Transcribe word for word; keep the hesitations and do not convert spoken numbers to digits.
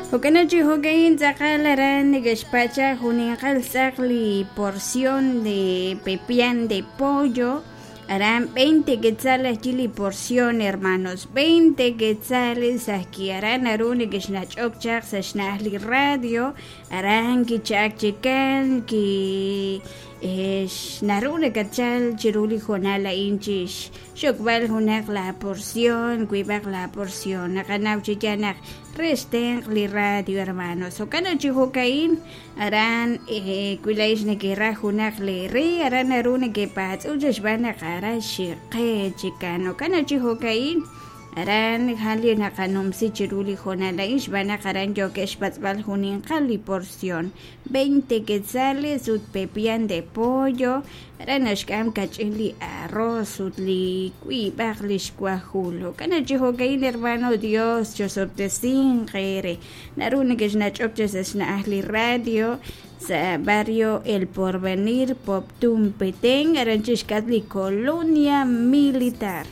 Jo'kan chi jo'ka'in tz'aqal aran neke'xpacha juninqal tz'aq li porción de pepián de pollo aran veinte quetzales li porción, hermanos, veinte quetzales aquí aran naru neke'xnach'ok chaq sa' xna'aj li radio aran kicha'ak chikan ki naru nakatchal chiru li hoonal a'in chix xokb'al junaq la porción, wiib'aq la porción naqanaw chi yaal naq re xtenq' li radio, hermanos. Jo'kan chi jo'ka'in aran wi laa'ex nekeraj junaq leere aran naru nekepatz'ul xb'aan naq aran xiqe chikan. Jo'kan chi jo'ka'in aran jan li naqanumsi chiru li hoonal a'in xb'aan naq aran yookeb' xpatz'b'al juninqal li porción veinte quetzales ut pepián de pollo aran naxk'am kach'in li arroz ut li wiib'aq li xwajul. Jo'kan chi jo'ka'in, hermano, Dios chosob'tesinq eere. Naru neke'xnach'ok chi sa' xna'aj li radio sa' barrio El Porvenir, Poptún, Petén, aran chixk'atq li Colonia Militar.